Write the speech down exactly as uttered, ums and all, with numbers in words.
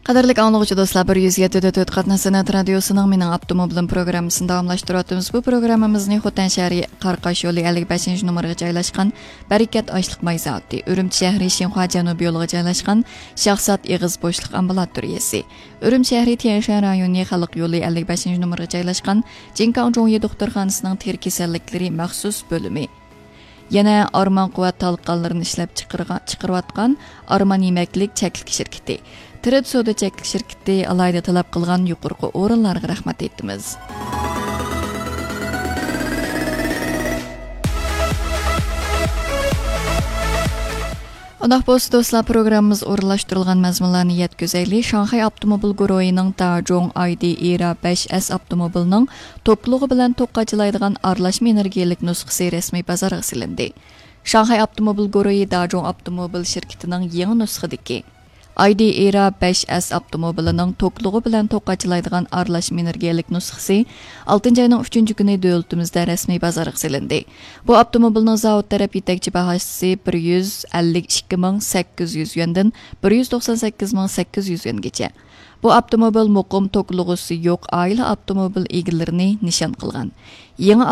قەدىرلىك ئاڭلىغۇچى دوستلار، بىر يۈز يەتتە دۆت قاتناش سەنئەت رادىيوسىنىڭ مېنىڭ ئاپتوموبىلىم پروگراممىسىنى داۋاملاشتۇرۇۋاتىمىز. بۇ پروگراممىمىزنى خوتەن شەھىرى قاراقاش يولى ئەللىك بەشىنچى نومۇرغا جايلاشقان بەرىكەت ئاشلىق ماي زاۋۇتى، ئۈرۈمچى شەھىرى شىنخۇا جەنۇبىي يولىغا جايلاشقان شاھزات ئېغىز بوشلۇق ئامبۇلاتورىيەسى، ئۈرۈمچى شەھىرى تيەنشەن رايونى خەلق يولى ئەللىك بەشىنچى نومۇرغا جايلاشقان جىنكاڭ جۇڭيى دوختۇرخانىسىنىڭ تېرە كېسەللىكلىرى مەخسۇس بۆلۈمى، يەنە ئارمان قۇۋۋەت تالقانلىرىنى ئىشلەپ چىقىرغا-، چىقىرىۋاتقان ئارمان يېمەكلىك چەكلىك شىركىتى، تىرىت سودا چەكلىك شىركىتى ئالاھىدە تەلەپ قىلغان يۇقىرىقى ئورۇنلارغا رەھمەت ئېيتىمىز. ئۇنداق بولسا دوستلار، پروگراممىمىز ئورۇنلاشتۇرۇلغان مەزمۇنلارنى يەتكۈزەيلى. شاڭخەي ئاپتوموبىل گۇرۇھىنىڭ داجۇڭ ئايدى ئېرا بەش ئەس ئاپتوموبىلىنىڭ توكلۇقى بىلەن توك قاچىلايدىغان ئارىلاشما ئېنېرگىيەلىك نۇسخىسى رەسمىي بازارغا سېلىندى. شاڭخەي ئاپتوموبىل گۇرۇھى داجۇڭ ئاپتوموبىل شىركىتىنىڭ يېڭى نۇسخىدىكى ئايدى ئېرا بەش ئەس ئاپتوموبىلىنىڭ توكلۇقى بىلەن توك قاچىلايدىغان ئارىلاشما ئېنېرگىيەلىك نۇسخىسى ئالتىنچى ئاينىڭ ئۈچىنچى كۈنى دۆلىتىمىزدە رەسمىي بازارغا سېلىندى. بۇ ئاپتوموبىلنىڭ زاۋۇت تەرەپ يېتەكچى باھاسى بىر يۈز ئەللىك ئىككى مىڭ سەككىز يۈز يۈەندىن بىر يۈز توقسان سەككىز مىڭ سەككىز يۈز يۈەنگىچە. بۇ ئاپتوموبىل مۇقىم توكلىغۇسى يوق ئائىلە ئاپتوموبىل ئىگىلىرىنى نىشان قىلغان. يېڭى